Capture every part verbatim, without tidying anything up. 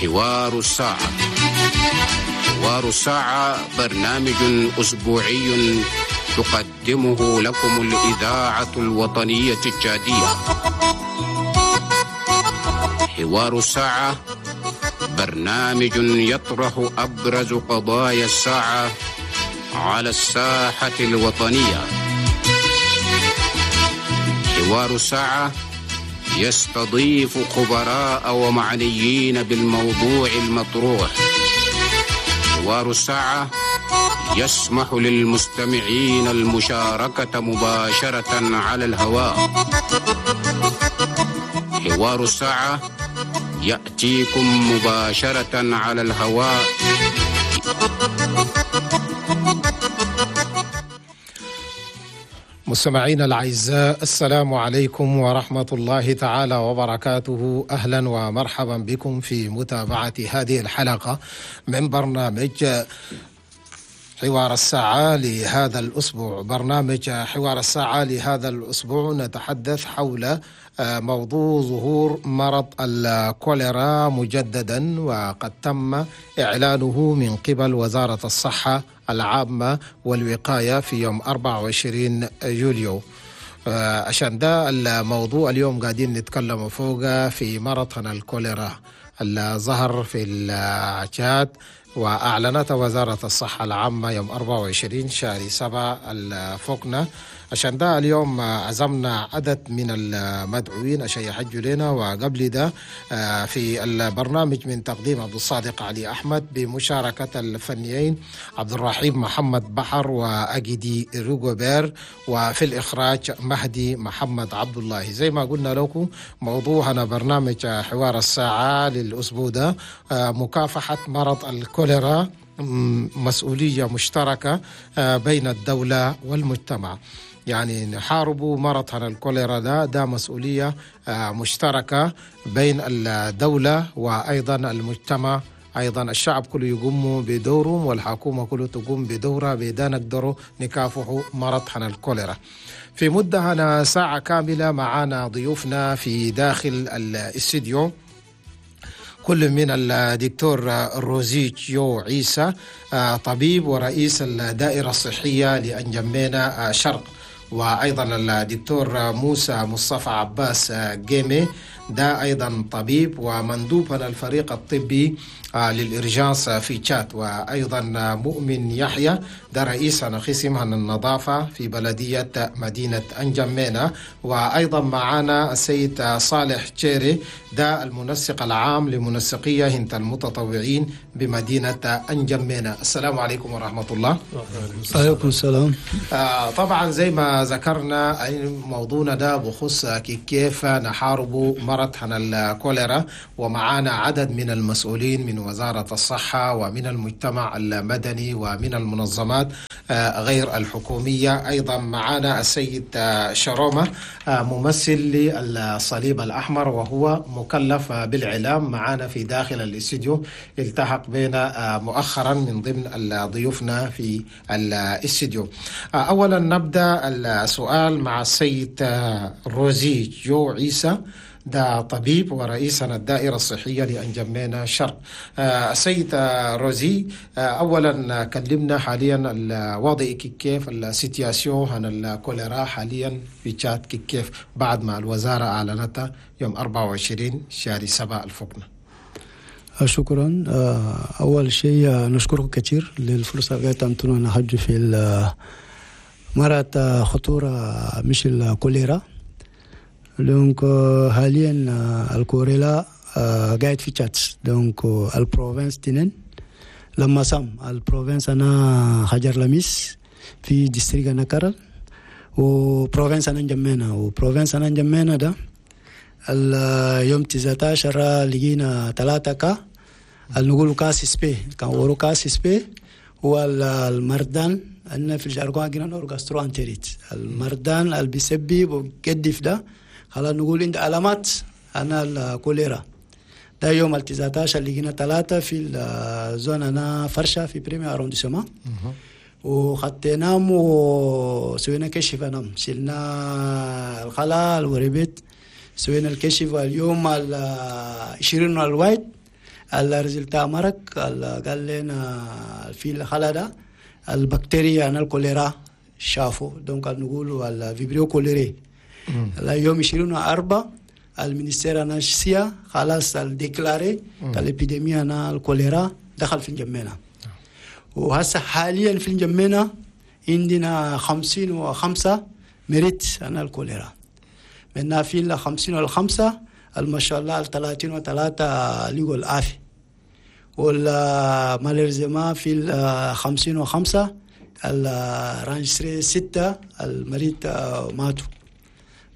حوار الساعة. حوار الساعة برنامج أسبوعي تقدمه لكم الإذاعة الوطنية التشادية. حوار الساعة برنامج يطرح أبرز قضايا الساعة على الساحة الوطنية. حوار الساعة يستضيف خبراء ومعنيين بالموضوع المطروح. حوار الساعة يسمح للمستمعين المشاركة مباشرة على الهواء. حوار الساعة يأتيكم مباشرة على الهواء. مستمعينا الأعزاء، السلام عليكم ورحمة الله تعالى وبركاته. أهلا ومرحبا بكم في متابعة هذه الحلقة من برنامج حوار الساعة لهذا الأسبوع. برنامج حوار الساعة لهذا الأسبوع نتحدث حول موضوع ظهور مرض الكوليرا مجددا، وقد تم إعلانه من قبل وزارة الصحة العامة والوقاية في يوم أربعة وعشرين يوليو. عشان ده الموضوع اليوم قاعدين نتكلم فوق في مرض الكوليرا اللي ظهر في التشاد، وأعلنت وزارة الصحة العامة يوم أربعة وعشرين شهر سبعة الفوقنا. عشان ده اليوم عزمنا عدد من المدعوين عشان يحجوا لنا. وقبل ده في البرنامج من تقديم عبد الصادق علي أحمد بمشاركة الفنيين عبد الرحيم محمد بحر وأجدي روغوبير، وفي الإخراج مهدي محمد عبد الله. زي ما قلنا لكم موضوعنا برنامج حوار الساعة للأسبوع ده مكافحة مرض الكوليرا، مسؤولية مشتركة بين الدولة والمجتمع. يعني نحاربوا مرض الكوليرا ده ده مسؤولية مشتركة بين الدولة وأيضا المجتمع. أيضا الشعب كله يقوم بدوره والحكومة كله تقوم بدورها، بدا نقدروا نكافحوا مرض الكوليرا. في مدة هنا ساعة كاملة معانا ضيوفنا في داخل الاستديو، كل من الدكتور روزي جو عيسى طبيب ورئيس الدائرة الصحية لأنجمينا شرق، وأيضا الدكتور موسى مصطفى عباس جيمي ده أيضا طبيب ومندوب الفريق الطبي للإرجاس في تشاد، وأيضا مؤمن يحيى ده رئيس قسم النظافة في بلدية مدينة أنجمينا، وأيضا معنا السيد صالح تشيري ده المنسق العام لمنسقية هنت المتطوعين بمدينة أنجمينا. السلام عليكم ورحمة الله. عليكم السلام. آه طبعا زي ما ذكرنا موضوعنا ده بخص كيف نحارب مرض الكوليرا، ومعانا عدد من المسؤولين من وزارة الصحة ومن المجتمع المدني ومن المنظمات غير الحكومية. أيضا معانا السيد شرومة ممثل للصليب الأحمر وهو مكلف بالإعلام معانا في داخل الاستديو، التحق بنا مؤخرا من ضمن ضيوفنا في الاستديو. أولا نبدأ السؤال مع السيد روزي جو عيسى ده طبيب ورئيسنا الدائرة الصحية لأنجمينا شرق. السيد روزي، أولا كلمنا حاليا الوضع كيف، ال situation عن الكوليرا حاليا في تشاد كيف بعد ما الوزارة أعلنتها يوم أربعة وعشرين شهر سبعة الفقنا. شكرا. أول شيء نشكركم كثير للفرصة اللي قدمتونا نحج في مرض خطورة مش الكوليرا. donc حاليا الكوليرا قاعد في تشاد، donc ال province تنين لما سام ال province انا حجر لميس في district انا كرل، و province انا نجمينا، و province انا نجمينا ده اليوم تسعة عشر لقينا ثلاثة cas نقول cas suspect، كان ورو cas suspect هو المردان عندنا في ال jargon قلنا gastro-entérite، المردان اللي بيسبب وقدف ده خلاص نقول عند علامات انا الكوليرا. ده يوم ال تسعة عشر لقينا ثلاثة في ال zone انا فرشة في premier arrondissement، وخديناهم وسوينا كشف انام، شلنا الخلال وربت سوينا الكشف. اليوم ال عشرين الوايد ال résultat مرق قال لنا في الخلا ده البكتيريا هنا الكوليرا شافوا، donc نقولوا ال vibrio cholerae. يوم عشرين وأربعة ال ministère هنا الصحة خلاص déclaré l'épidémie هنا الكوليرا دخل في انجمينا. وهسه حاليا في انجمينا عندنا خمسين وخمسة مريض هنا الكوليرا، منا في ال خمسين والخمسة ما شاء الله ثلاثين وثلاثة لقوا العافية، وال malheureusement في ال خمسين وخمسة enregistré ستة المريض ماتوا.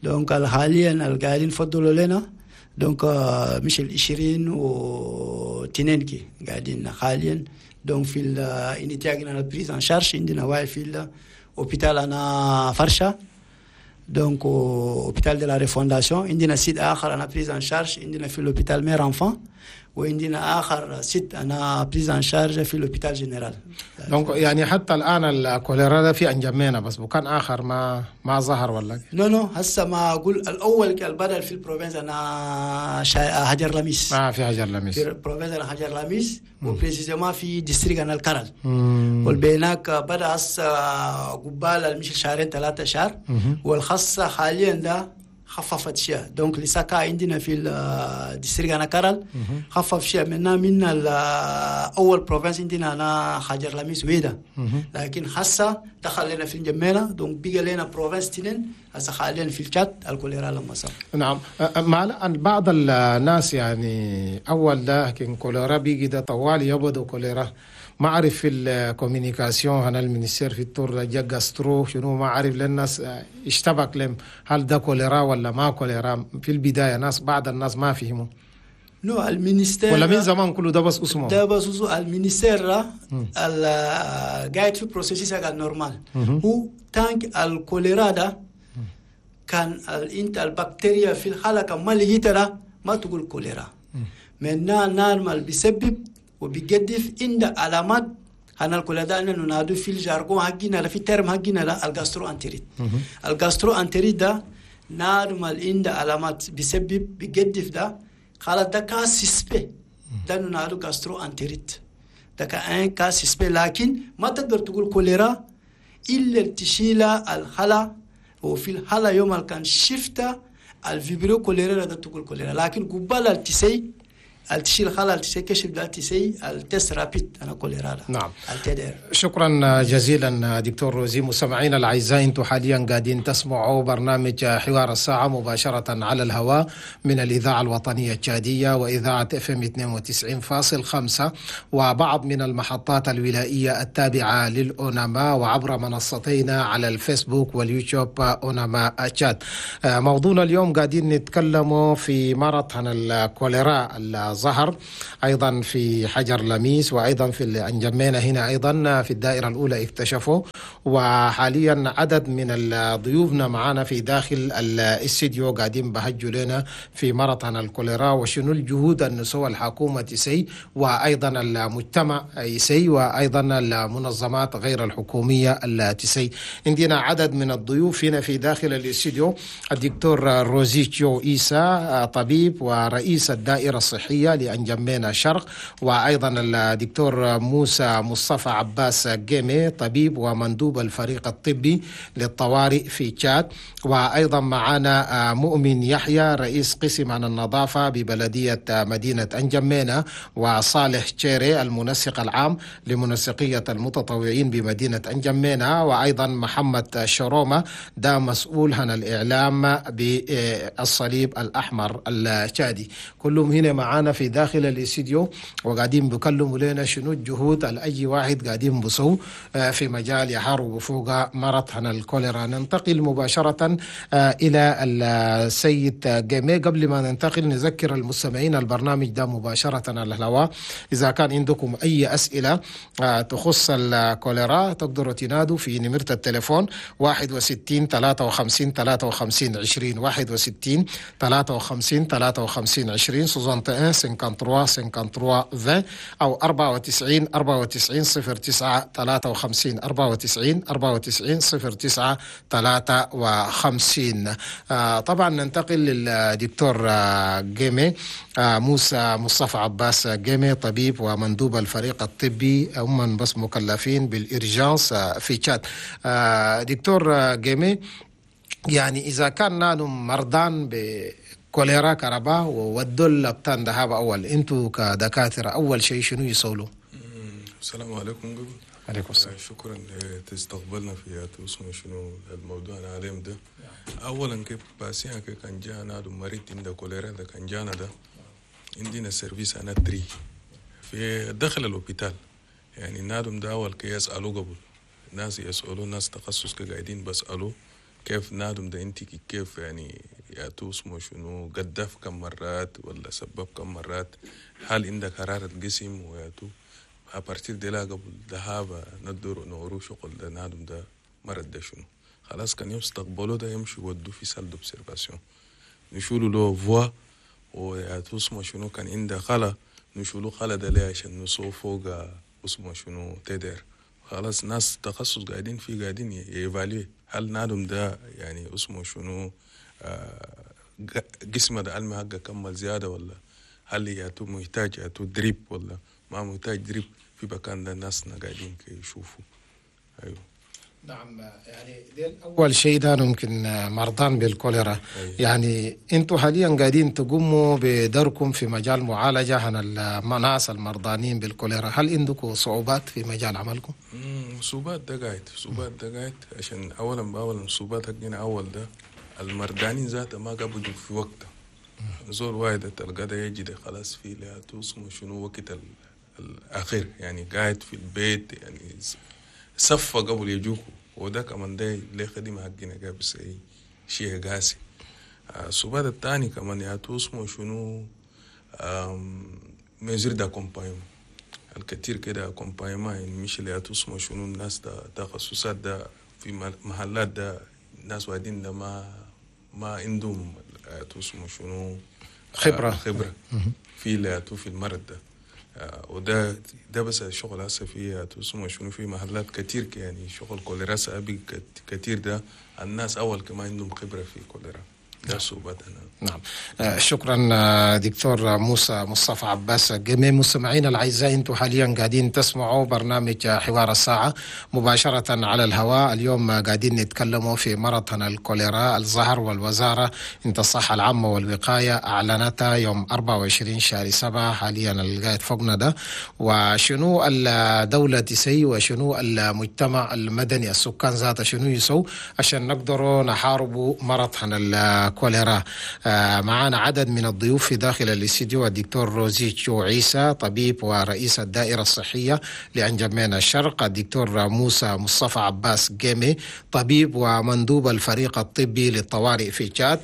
donc حاليا القاعدين فضلوا لنا donc مش العشرين واثنين كي قاعدين حاليا. donc في ال unité ال prise en charge عندنا واحد في l'hôpital هنا فرشة، donc hôpital de la refondation، عندنا site اخر هنا prise en charge عندنا في l'hôpital mère enfant، وعندنا اخر site هنا prise en charge في l'hôpital général. donc يعني حتى الان الكوليرا ده في انجمينا بس وكان اخر ما ما ظهر ولا؟ non non هسه ما اقول الاول البدل في ال province هنا حجر لميس. اه في حجر لميس، في ال province هنا حجر لميس و précisément في district هنا الكرل، والبيناك بدا هسه قبال مش شهرين ثلاثة شهر، والخاصة حاليا ده خففت شيء. donc لسه عندنا في ال district هنا كرل خفف شيء منا من اول province عندنا هنا حجر لميس ويدا، لكن هسه دخل لنا في انجمينا، donc بقى لنا province تنين هسه حاليا في التشاد الكوليرا لما صار. نعم، مع بعض الناس يعني اول ده كان كوليرا بيجي ده طوال يبدو كوليرا، ما اعرف في ال communication هنا ال ministère في التور جا gastro شنو ما اعرف، للناس اشتبك لهم هل ده كوليرا ولا ما كوليرا في البداية، ناس بعض الناس ما فهموا. non ال ministère ولا من زمان كله ده بس اسمه ده بس اسمه ال ministère قاعد في processus normal، هو tant que الكوليرا ده كان انت البكتيريا في الخلايا ما لقيتها ما تقول كوليرا، من normal بيسبب وبيقدف عند علامات هنا الكوليرا ده ننادو في ال jargon حقنا في terme حقنا لا ال gastro-entérite. ال gastro-entérite ده normal عند علامات بيسبب بيقدف ده خلاص ده cas suspect، ده ننادو gastro-entérite، ده كان cas suspect، لكن ما تقدر تقول كوليرا الا تشيل الخلا، وفي الحالة يوم كان شفتا ال vibrio cholerae ده تقول كوليرا، لكن قبل التسي التشيل خلا التسي كشف ده التسي ال test rapide هنا كوليرا. نعم التدير. شكرا جزيلا دكتور روزي. مستمعينا الاعزاء، انتم حاليا قاعدين تسمعوا برنامج حوار الساعة مباشرة على الهواء من الاذاعة الوطنية التشاديه واذاعة FM اثنين وتسعين فاصل خمسة وبعض من المحطات الولائيه التابعة للاوناما وعبر منصتينا على الفيسبوك واليوتيوب اوناما تشاد. موضوعنا اليوم قاعدين نتكلموا في مرض عن الكوليرا ظهر أيضا في حجر لميس وأيضا في الأنجمينة هنا أيضا في الدائرة الأولى اكتشفوا، وحاليا عدد من ضيوفنا معنا في داخل الاستديو قاعدين بهجوا لنا في مرض عن الكوليرا وشنو الجهود النسوة الحكومة تسي وأيضا المجتمع يسي وأيضا المنظمات غير الحكومية التسي. عندنا عدد من الضيوف هنا في داخل الاستديو، الدكتور روزيتشو إيسا طبيب ورئيس الدائرة الصحية لأنجمينا شرق، وأيضا الدكتور موسى مصطفى عباس جيمي طبيب ومندوب الفريق الطبي للطوارئ في تشاد، وأيضا معنا مؤمن يحيى رئيس قسم عن النظافة ببلدية مدينة أنجمينا، وصالح تشيري المنسق العام لمنسقية المتطوعين بمدينة أنجمينا، وأيضا محمد شرومة ده مسؤول عن الإعلام بالصليب الأحمر التشادي. كلهم هنا معانا في داخل الاستديو وقاعدين بيكلموا لنا شنو الجهود الأي واحد قاعدين بصو في مجال يحارب فوق مرض عن الكوليرا. ننتقل مباشرة إلى السيد جيمي. قبل ما ننتقل نذكر المستمعين البرنامج ده مباشرة على الهواء، إذا كان عندكم أي أسئلة تخص الكوليرا تقدروا تنادوا في نمرة التليفون واحد وستين ثلاثة وخمسين ثلاثة وخمسين عشرين، واحد وستين ثلاثة وخمسين ثلاثة وخمسين عشرين، soixante et un cinquante-trois cinquante-trois vingt أو أربعة وتسعين أربعة وتسعين صفر تسعة ثلاثة وخمسين، أربعة وتسعين أربعة وتسعين صفر تسعة ثلاثة وخمسين. طبعا ننتقل للدكتور آه، جيمي آه، موسى مصطفى عباس جيمي، طبيب ومندوب الفريق الطبي، هم بس مكلفين بال urgence آه، في تشاد. دكتور جيمي، يعني إذا كان نادم مرضان بكوليرا كربا وودوا لبتان دهاب، أول أنتوا كدكاترة أول شيء شنو يسولوا؟ السلام عليكم قبل. عليكم السلام. شكرا تستقبلنا في اسمه شنو الموضوع العالم ده. اولا كيف patient كان جانا مريض عنده كوليرا ده، كان جانا ده عندنا service انا tri في داخل l'hôpital. يعني نادم ده اول كي يسالوا قبل، ناس يسالوا، ناس تخصص قاعدين بسالوا كيف نادم ده انت كيف، يعني يا اسمه شنو قدف كم مرات ولا سبب كم مرات، هل عندك حرارة جسم وياتو. à partir de là قبل ذهاب ندور نورو شغل ده نادم ده مرض ده شنو. خلاص كان يستقبلوا ده يمشي يودوا في salle d'observation، نشولوا له voie ويا اسمه شنو كان عنده خلا نشولوا خلا ده ليه عشان نسو فوق اسمه شنو T D R. خلاص ناس تخصص قاعدين في قاعدين ي évaluer هل نادم ده يعني اسمه شنو آه جسمه ده المي حقه كمل زيادة، ولا هل ياتو محتاج ياتو drip ولا ما محتاج drip. في مكان ده ناسنا قاعدين يشوفوا، ايوه. نعم، يعني ديل اول شيء ده ممكن مرضان بالكوليرا. أيوة. يعني انتم حاليا قاعدين تقوموا بدوركم في مجال معالجه عن الناس المرضانين بالكوليرا، هل عندكم صعوبات في مجال عملكم؟ صعوبات ده قاعد، صعوبات ده قاعد، عشان اولا باولا صعوبات حقنا اول ده المردانين ذاته ما قبلوا في وقته. زول واحد تلقى ده يجي ده خلاص في لا اسمه شنو وقت الاخير، يعني قاعد في البيت، يعني سفة قبل يجوكوا، وده كمان ده ليه خدمة حقنا قاعد بس أي شيء قاسي. الصعوبات الثاني كمان يا اسمه شنو mesures d'accompagnement الكثير كده accompagnement، يعني مش اللي اسمه شنو الناس ده تخصصات ده في محلات ده ناس واحدين ده ما ما عندهم اسمه شنو خبرة. خبرة في اللي في المرض ده. وده ده بس الشغل هسه في اسمه شنو في محلات كتير، يعني شغل كوليرا أبي كتير ده الناس أول كمان عندهم خبرة في كوليرا ده صعوبات. نعم، شكرا دكتور موسى مصطفى عباس جميع مستمعينا الاعزاء، انتم حاليا قاعدين تسمعوا برنامج حوار الساعه مباشره على الهواء. اليوم قاعدين نتكلموا في مرض الكوليرا الظهر، والوزاره انت الصحه العامه والوقايه اعلنتها يوم أربعة وعشرين شهر سبعة حاليا القاعد فوقنا ده، وشنو الدوله تسي وشنو المجتمع المدني السكان ذاته شنو يسوي عشان نقدروا نحاربوا مرض الكوليرا. معنا عدد من الضيوف في داخل الاستديو: الدكتور روزيتشو عيسى، طبيب ورئيس الدائرة الصحية لأنجمينا الشرق، الدكتور موسى مصطفى عباس جيمي، طبيب ومندوب الفريق الطبي للطوارئ في تشاد،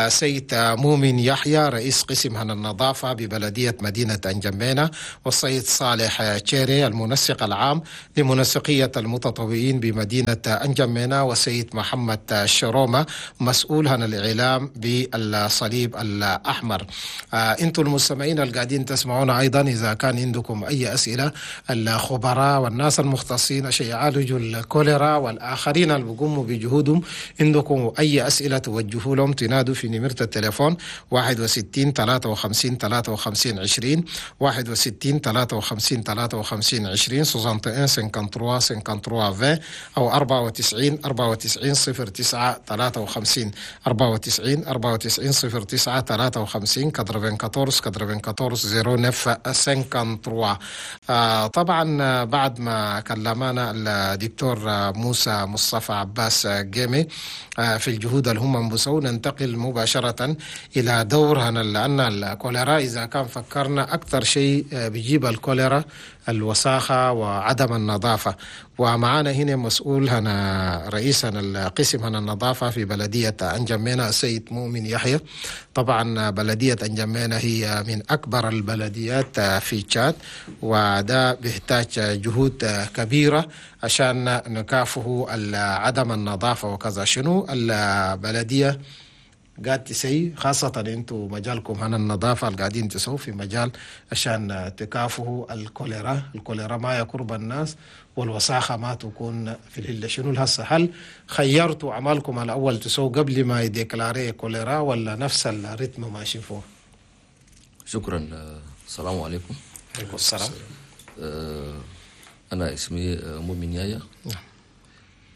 سيد مؤمن يحيى، رئيس قسم هنا النظافة ببلدية مدينة أنجمينا، والسيد صالح تشيري، المنسق العام لمنسقية المتطوعين بمدينة أنجمينا، والسيد محمد شرومة، مسؤول عن الإعلام بالصليب الأحمر. آه انتم المستمعين القاعدين تسمعونا أيضا، إذا كان عندكم أي أسئلة الخبراء والناس المختصين عشان يعالجوا الكوليرا والآخرين اللي بيقوموا بجهودهم، عندكم أي أسئلة توجهوا لهم، تنادوا في نمرة التليفون واحد وستين ثلاثة وخمسين ثلاثة وخمسين عشرين، واحد وستين ثلاثة وخمسين ثلاثة وخمسين عشرين، واحد وستين ثلاثة وخمسين ثلاثة وخمسين عشرين أو أربعة وتسعين أربعة وتسعين صفر تسعة ثلاثة وخمسين، أربعة وتسعين أربعة وتسعين صفر تسعة ثلاثة وخمسين، أربعة وثمانين أربعة وثمانين صفر تسعة ثلاثة وخمسين. آه طبعا بعد ما كلمنا الدكتور موسى مصطفى عباس جيمي آه في الجهود اللي هم بسوا، ننتقل مباشرة إلى دور، لأن الكوليرا إذا كان فكرنا أكثر شيء بيجيب الكوليرا الوساخة وعدم النظافة. ومعنا هنا مسؤول هنا رئيس القسم هنا النظافة في بلدية أنجمينا السيد مؤمن يحيى. طبعا بلدية أنجمينا هي من أكبر البلديات في تشاد، وده بيحتاج جهود كبيرة عشان نكافئه عدم النظافة وكذا. شنو البلدية قاعد تسوي، خاصة انتم مجالكم هنا النظافة اللي قاعدين تسووا في مجال عشان تكافحوا الكوليرا، الكوليرا ما يقرب الناس والوساخة ما تكون في الهلة. شنو الهسه؟ هل خيرتوا عملكم الأول تسووا قبل ما ي déclarer كوليرا ولا نفس ال rythme ماشي فوق؟ شكرا. السلام عليكم. عليكم السلام. أنا اسمي مؤمن يايا، نعم،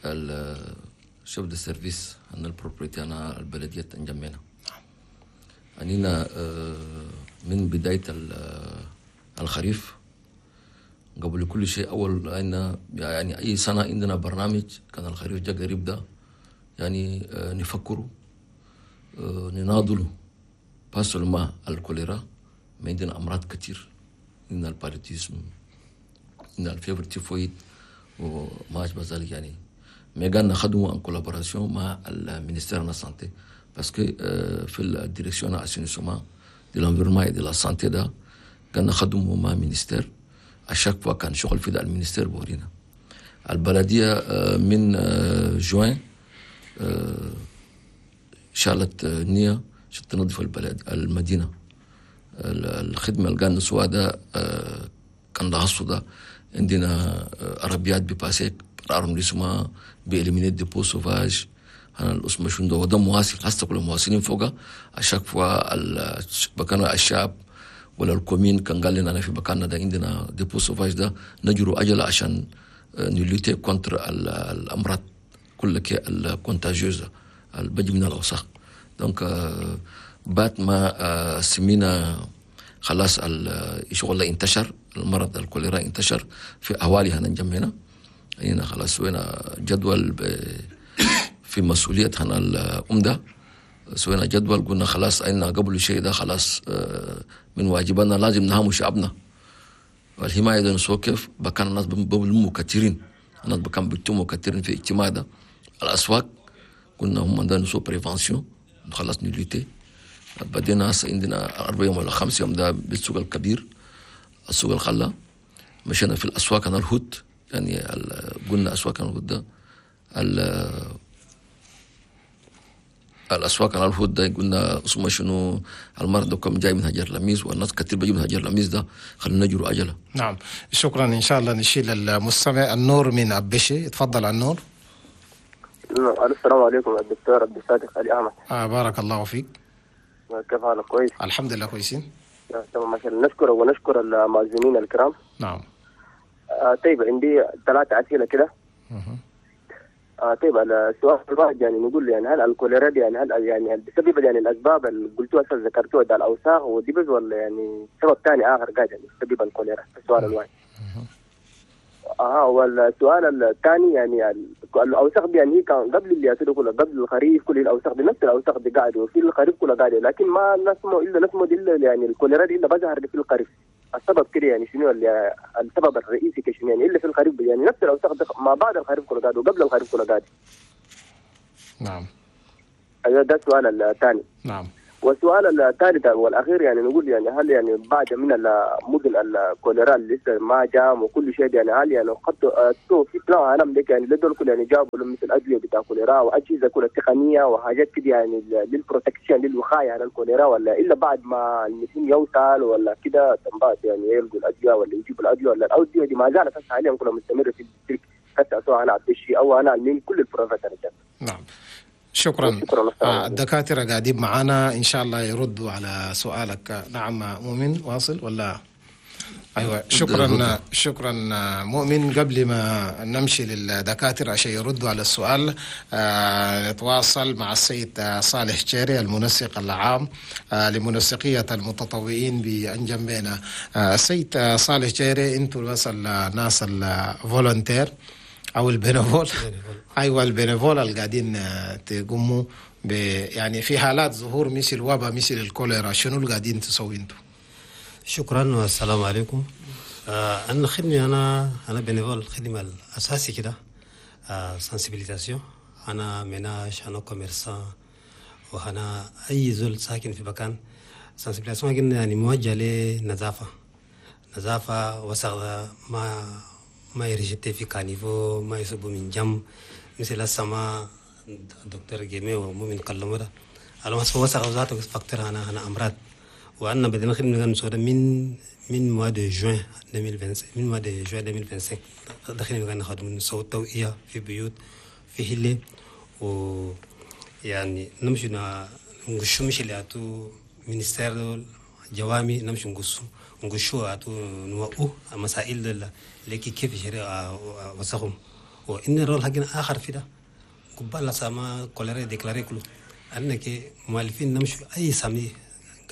ال chef de service عن ال propreté هنا البلدية انجمينا. نعم. أنينا من بداية الخريف قبل كل شيء، أول عندنا يعني أي سنة عندنا برنامج، كان الخريف جا قريب ده يعني نفكروا نناضلوا pas seulement الكوليرا، ما عندنا أمراض كتير، عندنا ال paludisme، عندنا ال fièvre typhoïde وما أشبه ذلك. يعني mais قاعد نخدموا en collaboration مع ال ministère de la santé، parce que في ال direction assainissement de l'environnement et de la santé ده قاعد نخدموا مع ministère، à chaque fois كان شغل في ده ال ministère بورينا. البلدية من جوان شالت نية عشان تنظف البلد المدينة. الخدمة اللي قاعد نسوها ده كان لاحظوا ده عندنا عربيات ب passer arrondissement ب éliminer dépôts sauvages هنا الاسم شنو ده، وده مواصل هسه كل مواصلين فوقها. à chaque fois بكان الشعب ولا ال commune كان قال لنا أنا في مكاننا ده عندنا dépôt sauvage ده، نجروا أجل عشان ن lutter contre الأمراض كل ال contagieuses اللي بيجي من الأوساخ. donc بعد ما سمينا خلاص الشغل انتشر، المرض الكوليرا انتشر في أهوالي هنا انجمينا، هنا خلاص سوينا جدول في مسؤولية هنا الأمدة، سوينا جدول قلنا خلاص أين قبل شيء ده خلاص من واجبنا لازم نهاموا شعبنا. والحماية ده نسوي كيف؟ بكان الناس بلموا كثيرين، الناس بكان بيتموا كثيرين في اجتماع ده الأسواق، قلنا هم ده نسوي prévention خلاص ن lutter. بدينا هسه عندنا أربع يوم ولا خمس يوم ده بالسوق الكبير السوق الخلا، مشينا في الأسواق أنا الهوت، يعني قلنا أسواق أنا الهوت ده الأسواق أنا الهوت ده قلنا اسمه شنو المرض كم جاي من هجر لميس والناس كثير بيجوا من هجر لميس ده، خلينا نجروا أجله. نعم شكرا. إن شاء الله نشيل المستمع النور من أبشي. تفضل النور. السلام عليكم الدكتور عبد الصادق علي أحمد. آه بارك الله فيك. كيف حالك؟ كويس الحمد لله كويسين. تمام ما شاء الله. نشكر ونشكر المعزومين الكرام. نعم. آه طيب عندي ثلاثة أسئلة كده. آه طيب السؤال الواحد يعني نقول يعني هل الكوليرا دي يعني هل يعني بسبب يعني الأسباب اللي قلتوها ذكرتوها ده الأوساخ ودي بس ولا يعني سبب ثاني آخر قاعد يعني سبب الكوليرا؟ السؤال الواحد. اه والسؤال الثاني يعني الاوساخ دي يعني هي كان قبل اللي يصير كله قبل الخريف كل الاوساخ دي نفس الاوساخ دي قاعدة وفي الخريف كله قاعدة، لكن ما نسمو الا نسمو الا يعني الكوليرا دي الا بظهر في الخريف. السبب كده يعني شنو اللي السبب الرئيسي كشنو يعني الا في الخريف يعني نفس الاوساخ دي ما بعد الخريف كله قاعدة وقبل الخريف كله قاعدة. نعم. ايوه ده السؤال الثاني. نعم. والسؤال الثالث والاخير يعني نقول يعني هل يعني بعد من المدن الكوليرا اللي لسه ما جام وكل شيء يعني هل يعني قد في plan عالم لك يعني لدول كل يعني جابوا مثل ادوية بتاع كوليرا واجهزة كلها تقنية وحاجات كده يعني لل protection للوقايه على الكوليرا ولا الا بعد ما المسلم يوصل ولا كده بعد يعني يلقوا الادوية ولا يجيبوا الادوية ولا الادوية دي ما زالت حاليا كلها مستمرة في الترك حتى سواء انا عبد او انا من كل ال provinces. نعم شكرا. آه الدكاترة قاعدين معانا إن شاء الله يردوا على سؤالك. نعم مؤمن واصل ولا؟ أيوة شكرا شكرا مؤمن. قبل ما نمشي للدكاترة عشان يردوا على السؤال آه نتواصل مع السيد صالح جيري المنسق العام آه لمنسقية المتطوعين بأنجمينا. آه السيد صالح جيري، أنتوا بس الناس ال volontaires أو ال bénévoles، أيوة ال bénévoles اللي قاعدين تقوموا ب يعني في حالات ظهور مثل وباء مثل الكوليرا، شنو اللي قاعدين تسوي انتوا؟ شكرا والسلام عليكم. آه أنا خدمة أنا أنا bénévole، الخدمة الأساسي كده آه sensibilisation. أنا ménage، أنا commerçant، وأنا أي زول ساكن في مكان. sensibilisation يعني موجهة لنظافة، نظافة وسخ ما ما ي rejeter في caniveau، ما يصبوا من جنب مثل السماء. الدكتور جيمي ومؤمن كلموا ده الوسخ وسخ ذاته facteur هنا هنا امراض. وعندنا بدنا خدمة نسوي من من mois de juin ألفين وخمسة وعشرين، من mois de juin ألفين وخمسة وعشرين دخلنا مكان نخدم نسوي توعية في بيوت، في حلة، و يعني نمشي نقشو مش اللي اتو ministère جوامي، نمشي نقصو نقشو اتو نوقو مسائل اللي كيف يشري وسخهم. وإن ال rôle حقنا آخر في ده، قبل سما choléra déclaré كله، أنك مؤلفين نمشي أي samedi،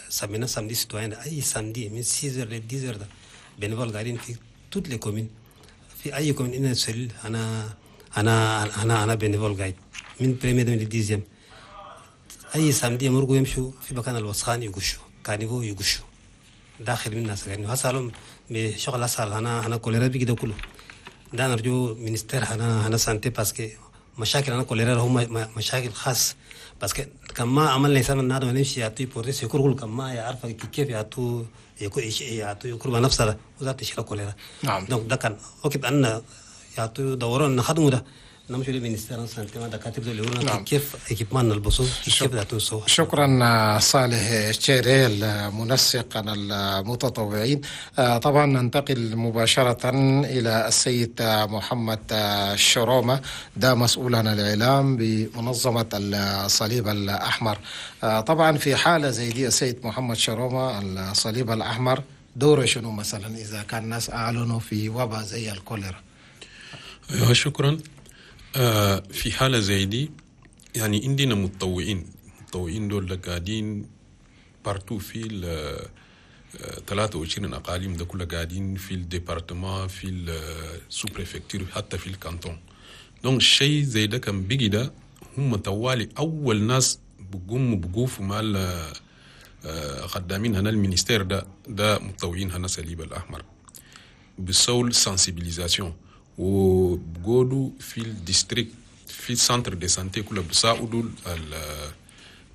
سمينا samedi citoyen، أي samedi من ستة ل عشرة ده bénévoles قاعدين في toutes les communes، في أي commune إن cellule أنا أنا أنا أنا bénévole قاعد من première من dixième. أي samedi يمرقوا يمشوا في مكان الوسخان يقشوا، caniveau يقشوا داخل من الناس. يعني هسألهم بشغل أسهل أنا أنا كوليرا بيجي ده كله ده. نرجو ministère هنا هنا santé، parce que مشاكل هنا كوليرا هم مشاكل خاص، parce que كما عملنا إنسان النادم نمشي يعطي porter secours، كما يعرف كيف يعطوا يعطوا يكرب نفسه وذات تشيل كوليرا. نعم donc ده كان وقت أن يعطوا دوران نخدموا ده، نمشي لل ministère santé ما دكاتره اللي يقولون نعم. كيف équipement نلبسوه، كيف ده. شكرا صالح الشيري المنسق المتطوعين. طبعا ننتقل مباشرة إلى السيد محمد الشرومة، ده مسؤول عن الإعلام بمنظمة الصليب الأحمر. طبعا في حالة زي دي، السيد محمد شرومة، الصليب الأحمر دوره شنو مثلا إذا كان الناس أعلنوا في وباء زي الكوليرا؟ أيوة، شكرا. آه في حالة زي دي يعني عندنا متطوعين، متطوعين دول قاعدين partout في ال ثلاثة وعشرين أقاليم ده كلها، قاعدين في ال département، في ال sous-préfecture، حتى في ال canton. donc الشيء زي ده كان بيجي ده، هم طوالي أول ناس بقوموا بقوفوا مع خدامين هنا ال ministère ده، ده متطوعين هنا صليب الأحمر، بسول sensibilisation وبقولوا في ال district، في ال centre de santé كلها، بيساعدوا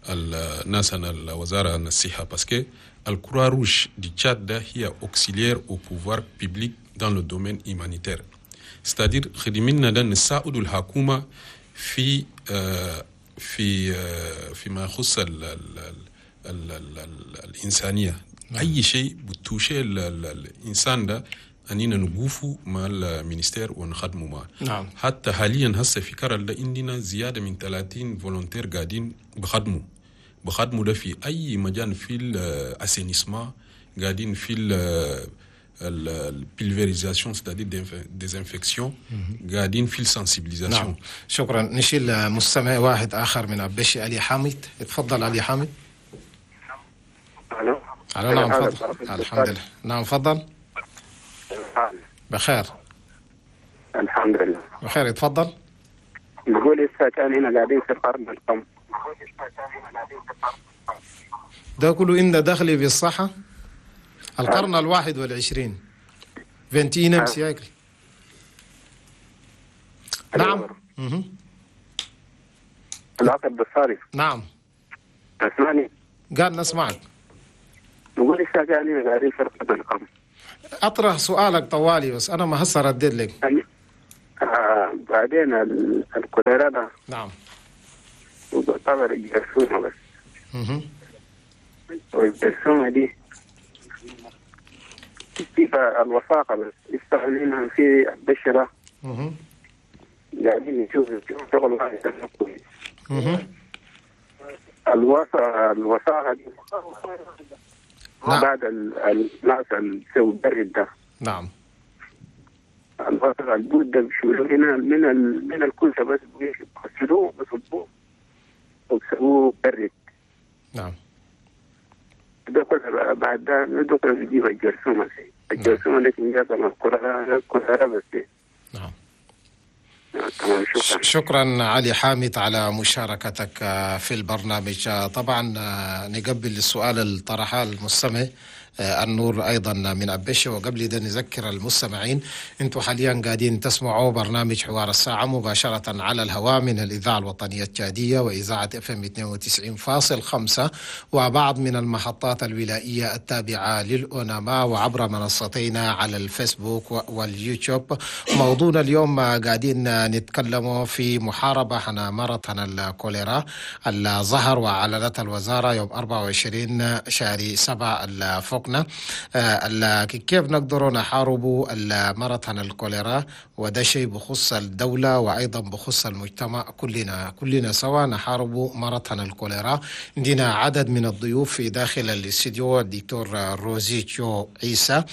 الناس هنا الوزارة الصحة، parce que ال Croix-Rouge du Tchad ده هي auxiliaire au pouvoir public dans le domaine humanitaire، c'est-à-dire خدمنا ده نساعدوا الحكومة في آه في آه فيما يخص ال ال ال ال ال الإنسانية. نعم. أي شيء ب toucher الإنسان ده أننا نقوفوا مع ال ministère ونخدموا معه. نعم. حتى حاليا هسه في كرل ده عندنا زيادة من ثلاثين volontaires قاعدين بخدموا بخدموا ده في أي مجال، في ال assainissement، قاعدين في ال pulvérisation، c'est-à-dire désinfection، قاعدين في ال sensibilisation. نعم، شكرا. نشيل مستمع واحد آخر من أبشي، علي حامد. تفضل علي حامد. الو. الو، نعم تفضل. الحمد لله، نعم تفضل. بخير. الحمد لله. بخير، تفضل. بقول لسه كان هنا قاعدين في القرن الكم؟ ده كله إن دخلي بالصحة، القرن الواحد والعشرين، vingt-et-unième siècle. نعم. العقد بالصارف. نعم. تسمعني؟ قال نسمعك. نقول لسه كان هنا قاعدين في القرن الكم؟ اطرح سؤالك طوالي، بس انا ما هسه رديت لك. آه بعدين الكوليرا ده نعم تعتبر الجرثومة بس. مه. والجرثومة دي كيف الوثاقة بس يستعملينها في البشرة. مه. قاعدين نشوف شغل واحد كويس. مه. الوثاقة الوثاقة دي نعم. بعد ال- الناس اللي بيسوي برد ده. نعم الوثاقة البود ده بيشيلوه هنا من ال... من الكوسة، بس بيغسلوه، بيصبوه وبيسووه برد. نعم ده كله بعد ده ندخل بيجيب الجرثومة دي، الجرثومة دي جات من الكوليرا، الكوليرا بس. نعم. تمام، شكرا. شكرا علي حامد على مشاركتك في البرنامج. طبعا نقبل السؤال اللي طرحه المستمع. النور أيضا من أبيشي. وقبل ده نذكر المستمعين أنتم حاليا قاعدين تسمعوا برنامج حوار الساعة مباشرة على الهواء من الإذاعة الوطنية التشادية وإذاعة اف ام اثنين وتسعين فاصل خمسة وبعض من المحطات الولائية التابعة للأوناما وعبر منصتينا على الفيسبوك واليوتيوب. موضوعنا اليوم قاعدين نتكلم في محاربة عن مرض الكوليرا اللي ظهر وأعلنت الوزارة يوم أربعة وعشرين شهر سبعة فوقنا كيف نقدر نحارب المرض عن الكوليرا، وده شيء بخص الدولة وأيضا بخص المجتمع، كلنا كلنا سوا نحارب مرض عن الكوليرا. عندنا عدد من الضيوف في داخل الاستديو، الدكتور روزي تشو عيسى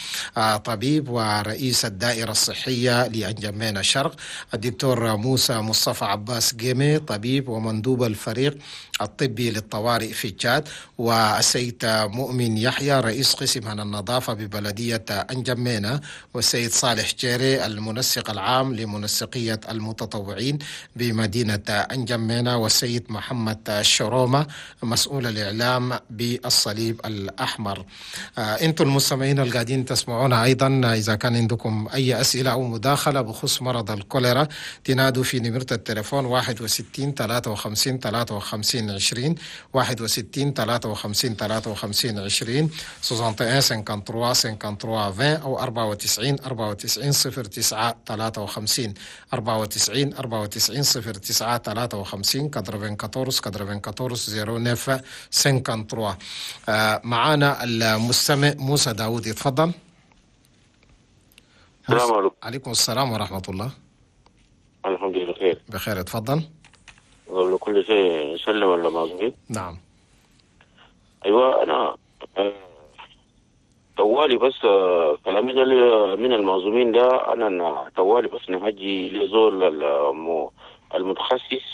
طبيب ورئيس الدائرة الصحية لأنجمينا الشرق، الدكتور موسى مصطفى عباس جيمي طبيب ومندوب الفريق الطبي للطوارئ في تشاد، والسيد مؤمن يحيى رئيس قسم عن النظافة ببلدية أنجمينا، والسيد صالح جيري المنسق العام لمنسقية المتطوعين بمدينة أنجمينا، والسيد محمد شرومة مسؤول الإعلام بالصليب الأحمر. آه أنتم المستمعين القاعدين تسمعونا أيضا، إذا كان عندكم أي أسئلة أو مداخلة بخصوص مرض الكوليرا تنادوا في نمرة التليفون واحد وستين ثلاثة وخمسين ثلاثة وخمسين عشرين، واحد وستين ثلاثة وخمسين ثلاثة وخمسين عشرين، واحد وستين ثلاثة وخمسين ثلاثة وخمسين عشرين، أو أربعة وتسعين أربعة وتسعين صفر تسعة ثلاثة وخمسين، أربعة وتسعين أربعة وتسعين صفر تسعة ثلاثة وخمسين، أربعة وتسعين أربعة وتسعين صفر تسعة ثلاثة وخمسين. معانا المستمع موسى داود، يتفضل. السلام عليكم. عليكم السلام ورحمة الله. الحمد لله بخير. بخير، اتفضل. قبل كل شيء سلم ولا معزومين. نعم. ايوه انا طوالي بس كلامي ده من المعزومين ده، انا طوالي بس نهجي لزول المتخصص،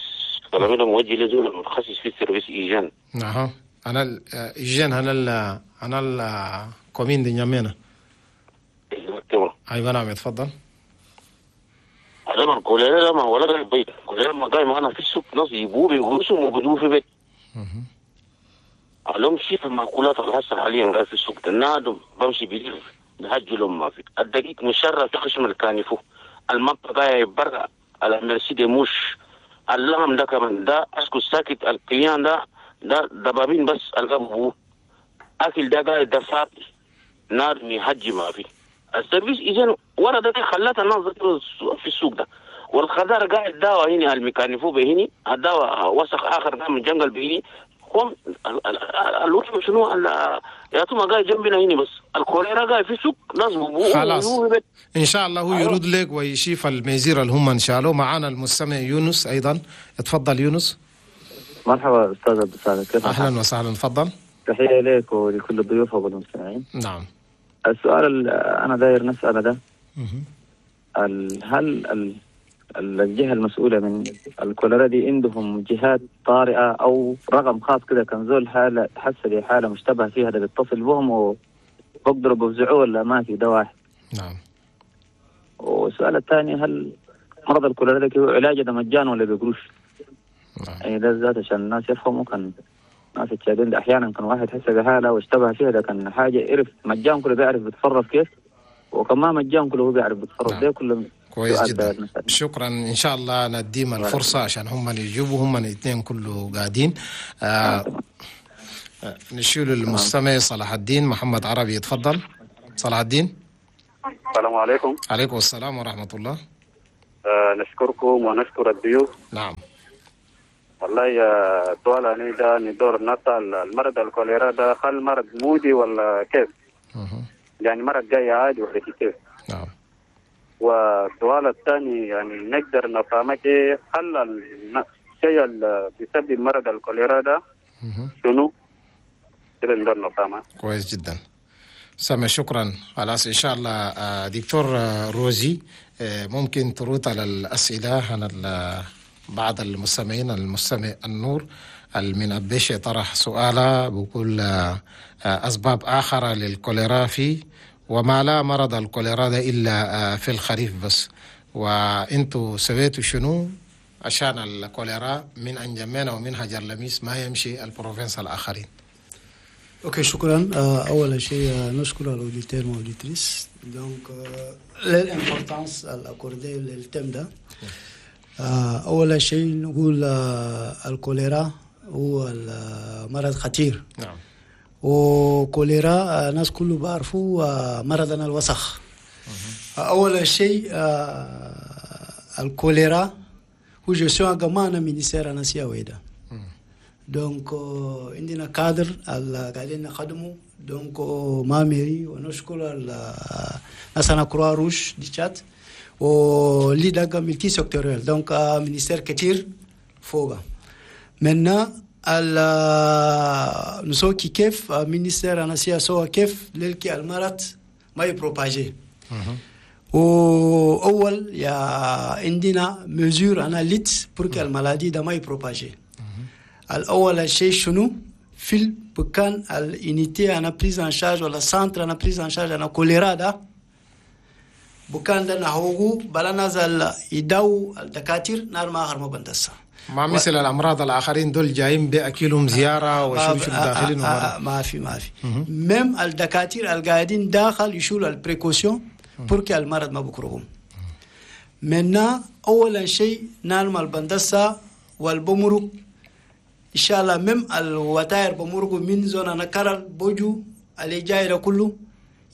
كلامي ده موجه لزول المتخصص في ال service hygiène. نعم، انا ال hygiène انا ال انا ال commune de N'Djamena. ايوه نعم، اتفضل. هذا الكوليرا ما ولا البيت، الكوليرا ما قايم انا في السوق، ناس يبوه بيغوصوا وبدوه في بيت. لهم شيء في المأكولات الهسه حاليا قاعد في السوق النادم بمشي بيلف نهجي لهم ما في الدقيق مشرف في خشم الكانفو، المنطقة قاعد برا على merci des mouches، اللحم ده كمان ده اسكت ساكت، القيان ده ده دبابين بس القبو اكل ده قاعد ده فاضي نار يهجي ما في ال service hygiène ورا ده خلت الناس في السوق ده، والخضار قاعد دواء هنا الميكانيفو بهني الدواء وسخ اخر ده من جنجل بهني هم الوحش شنو يا توما قاعد جنبنا هنا بس الكوليرا قاعد في السوق ناس خلاص ان شاء الله هو يرد لك ويشيف ال mesures اللي هم انشالوا. معانا المستمع يونس ايضا، اتفضل يونس. مرحبا استاذ عبد السلام، كيف اهلا وسهلا، تفضل. تحية لك ولكل الضيوف والمستمعين. نعم. السؤال اللي انا داير نساله ده، هل الجهة المسؤولة من الكوليرا دي عندهم جهات طارئة او رقم خاص كده كان زول حاله حس بحاله مشتبه فيها ده بيتصل بهم وبقدروا بيفزعوه ولا ما في؟ ده واحد. نعم. والسؤال الثاني، هل مرض الكوليرا ده علاجه ده مجان ولا بقروش؟ نعم. يعني ده ذات عشان الناس يفهموا، كان ناس التشادين ده احيانا كان واحد حس بحاله واشتبه فيها ده كان حاجة عرف مجان كله بيعرف بيتصرف كيف، وكمان مجان كله هو بيعرف بيتصرف. نعم. ده كله كويس سؤال جدا. داير نسأل. شكرا، ان شاء الله نديم الفرصة عشان هم اللي يجيبوا، هم الاثنين كله قاعدين. آه آه، نشيل المستمع صلاح الدين محمد عربي، يتفضل صلاح الدين. السلام عليكم. عليكم السلام ورحمة الله. آه نشكركم ونشكر الضيوف. نعم. والله يا سؤال أنا ده ندور نسأل، المرض الكوليرا ده هل مرض مودي ولا كيف؟ مه. يعني مرض جاي عادي ولا كيف؟ نعم. والسؤال الثاني، يعني نقدر نفهمك إيه، هل الشيء اللي بيسبب مرض الكوليرا ده مه. شنو؟ كده نقدر نفهمه. كويس جدا سامع، شكرا. خلاص ان شاء الله آه، دكتور آه، روزي، آه، ممكن ترد على الاسئلة عن ال- بعض المستمعين. المستمع النور من أبيشي طرح سؤالا بقول آه، آه، اسباب اخرى للكوليرا في، وما لا مرض الكوليرا ده الا آه، في الخريف بس، وانتوا سويتوا شنو عشان الكوليرا من انجمينا ومن هجر لميس ما يمشي ال provinces الاخرين؟ OK شكرا. آه، اول شيء آه، نشكر ال auditeurs و auditrices donc l'importance accordée لل thème ده. آه، اول شيء نقول آه، الكوليرا هو مرض خطير. نعم وكوليرا آه، الناس كله بعرفوا آه، مرضنا الوسخ. اول شيء آه، الكوليرا هو gestion كمان ministère انا سيا donc عندنا كادر اللي قاعدين نخدمه donc مع mairie، ونشكر ناس انا Croix-Rouge du Tchad واللي دقا multisectoriel، donc ministère كتير فوق maintenant نسوي كيف ministère انا سيا سوا كيف للكي المرض ما ي propager. واول يا عندنا mesures انا lutte pour que ال maladie ده ما ي propager. الاول شيء شنو؟ في البكان ال unité انا prise en charge ولا centre انا prise en charge انا كوليرا ده، بكان ده نهوغو بلا نزل يداو الدكاتير نار ما اخر ما بندسا. ما مثل الامراض الاخرين دول جايين باكلهم زيارة وشو شو داخلين. ما, ما في ما في même الدكاتير القاعدين داخل يشيلوا ال précautions pour que المرض ما بكرهم منا. اولا شيء نالم البندسة والبمرق ان شاء الله même الوتاير بمرقوا من zone انا بوجو اللي جاي ده كله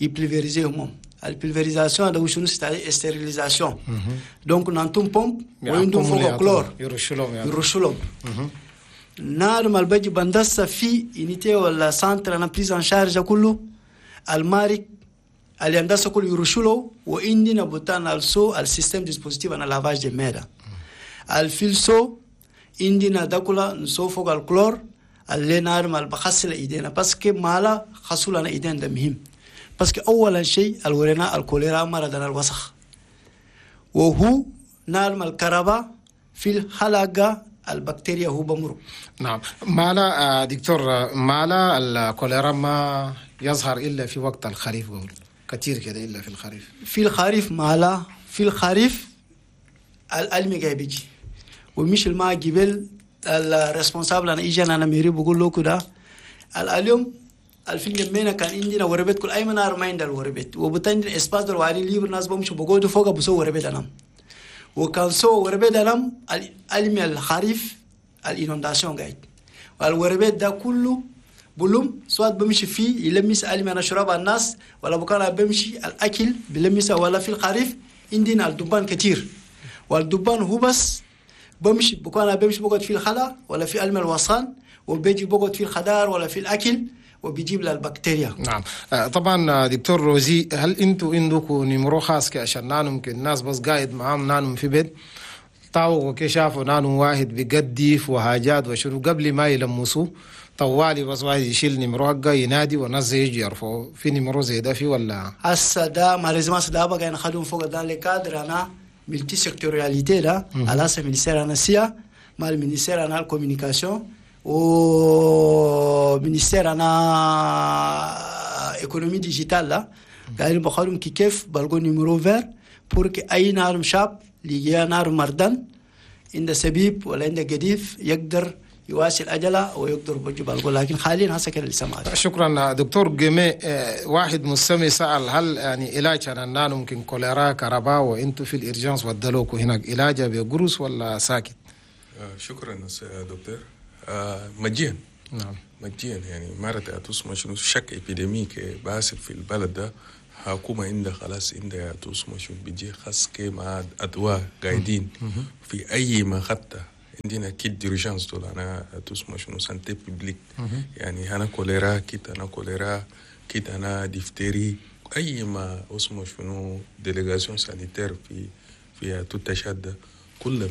ي pulvériser هم. ال pulvérisation هذا شنو؟ stérilisation، donc نانتم بومب وعندهم فوق كلور. يرشوا لهم يعني. يرشوا لهم. نار ما البجي بندسة في unité ولا centre انا prise en charge كله، المارك اللي هندسة كله يرشوا له. وعندنا بوتان السو ال système dispositif انا lavage de mains الفيلسو، عندنا داكولا نسو فوق الكلور اللي نار ما بخسل ايدينا، parce que مالا خسول انا ايدينا ده مهم، parce que اولا شيء الورينا الكوليرا مرضنا الوسخ، وهو نار الكهرباء في الحلقة البكتيريا هو بمرق. نعم، مالا دكتور، مالا الكوليرا ما يظهر إلا في وقت الخريف؟ قول كثير كده إلا في الخريف. في الخريف مالا؟ في الخريف الألمي جاي بيجي ومش الماء جبل ال responsable انا اجي انا mairie بقول له كده اليوم الفين جمينا كان عندنا وربت كل اي منار ما عندنا الوربت وبتندي espace دول وعلي libre، ناس بمشوا بقعدوا فوق بسوا وربت انام، وكان سو وربت انام المي الخريف ال inondation قاعد والوربت ده كله بلوم سواء بمشي فيه يلمس المي انا شراب الناس ولا بكان بمشي الاكل بلمس، ولا في الخريف عندنا الدبان كتير، والدبان هو بس بمشي بكون بمشي بقعد في الخلا ولا في المي الوصان وبيجي بقعد في الخضار ولا في الاكل وبيجيب لها البكتيريا. نعم، طبعا دكتور روزي، هل انتوا عندكم numéro خاص عشان نانو ممكن الناس بس قاعد معاهم نانو في بيت طاوق كي شافوا نانو واحد بيقدف وحاجات وشنو، قبل ما يلمسوه طوالي بس واحد يشيل numéro حقه ينادي والناس يجي يرفعوا؟ في numéro زي ده في ولا؟ هسه ده malheureusement ده بقى نخدم فوق dans le cadre انا multisectorialité ده على ministère انا سيا مع ال ministère انا ال communication و ministère انا économie digitale لا قاعدين بخدم كي كيف بلقوا numéro vert pour que اي نار شاب اللي نار مردان عند سبيب ولا عند قديف يقدر يواصل أجله ويقدر بجيب، لكن حاليا هسه كده لسه ما. شكرا دكتور جيمي. واحد مستمع سأل هل يعني علاج أنا ممكن كوليرا كهرباء وانتم في ال urgence ودلوكوا هناك علاجه بقروس ولا ساكت؟ شكرا دكتور. مجيا نعم مجيا يعني مرة أتوس شنو chaque épidémie باسل في البلد ده حكومة عندها خلاص عندها أتوس شنو بيجي خاص كي مع أدواء قاعدين في أي ما خطة. عندنا kit d'urgence دول أنا تسمى شنو santé publique، يعني أنا كوليرا kit، أنا كوليرا kit، أنا ديفتيري، أي ما اسمه شنو délégation sanitaire في في توت تشاد كل